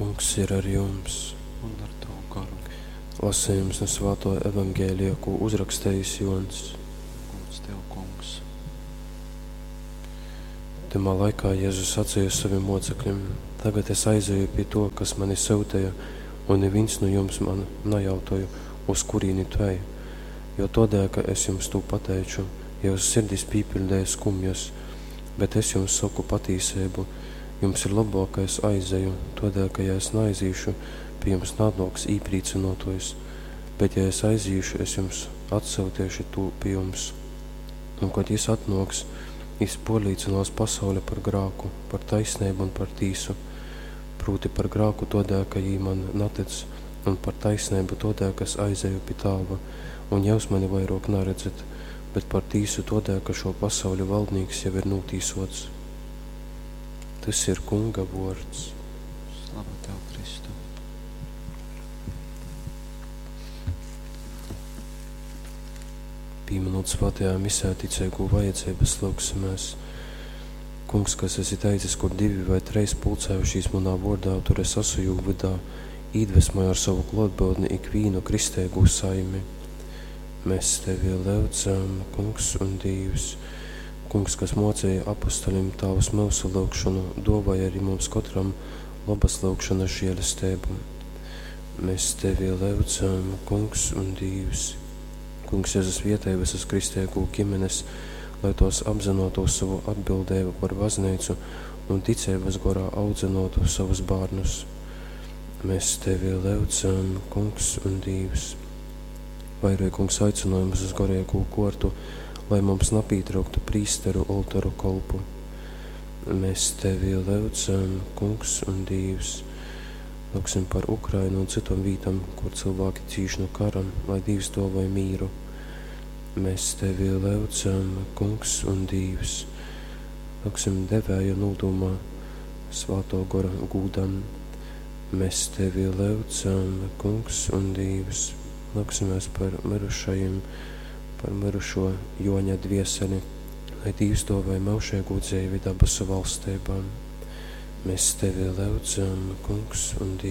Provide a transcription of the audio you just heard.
Kungs ir ar jums! Un ar tavu garu. Lasījums no Svāto Evangelija, ko uzrakstījis Jons. Gods tev, Kungs. Tymā laikā Jēzus sacīja saviem mocekļiem: Tagad es aizeju pie to, kas mani sūtīja, un neviens no jums man nejautāja, uz kurieni tu ej. Jo todēļ, ka es jums to pateicu, jūsu sirdis pīpildēja skumjas, bet es jums saku patīsību, jums ir labāk, ka es aizeju, todēļ, ka ja es neaizīšu, pie jums nānāks īprīcinotojs, bet ja es aizīšu, es jums atsūtīšu to pie jums. Un, kad jis atnāks, jis porlīcinās pasauli par grāku, par taisnību un par tīsu. Proti par grāku todēļ, ka jī man natic, un par taisnību todēļ, ka es aizeju pie tāva, un jūs mani vairāk neredzat, bet par tīsu todēļ, ka šo pasauļu valdnīks jau ir nūtīsots. Tas ir Kunga vords. Slava tev, Kristu. Pieminot svētajā misē ticīgo vajadzības, lūgsimies. Kungs, kas esi teicis, kur divi vai treis pulcējušīs manā vordā, tur es esmu jū vidā, iedvesmoju ar savu klotbūtni ikvienu kristēgu saimi. Mēs tevi lūdzam, Kungs un Dievs. Kungs, kas mocīja apustuļiem Tavas mūsu lūgšanu, dāvāja arī mums katram labas lūgšanas žēlastību. Mēs tevi lūdzam, Kungs un Dievs. Kungs Jēzus vietēja visas kristēgu ģimenes, lai tos apzinotos savu atbildību par baznīcu un ticības gorā audzinotu savus bērnus. Mēs tevi lūdzam, Kungs un Dievs. Vairoj, Kungs, aicinājumus uz garīgo kortu, lai mums napītrauktu prīsteru oltoru kolpu. Mēs tevi lūdzam, Kungs un Dievs. Lūgsim par Ukrainu un citom vītam, kur cilvēki cīš no kara, lai Dievs dāvāj mīru. Mēs tevi lūdzam, Kungs un Dievs. Lūgsim devēja nūdumā, svāto gora gūdam. Mēs tevi lūdzam, Kungs un Dievs. Lūgsimies par mirušajiem, par mirušo Joņa dvieseli, lai Dievs dāvāj mūžīgu dzīvi dabasu valstībā. Mēs tevi lūdzam, Kungs un Dievs.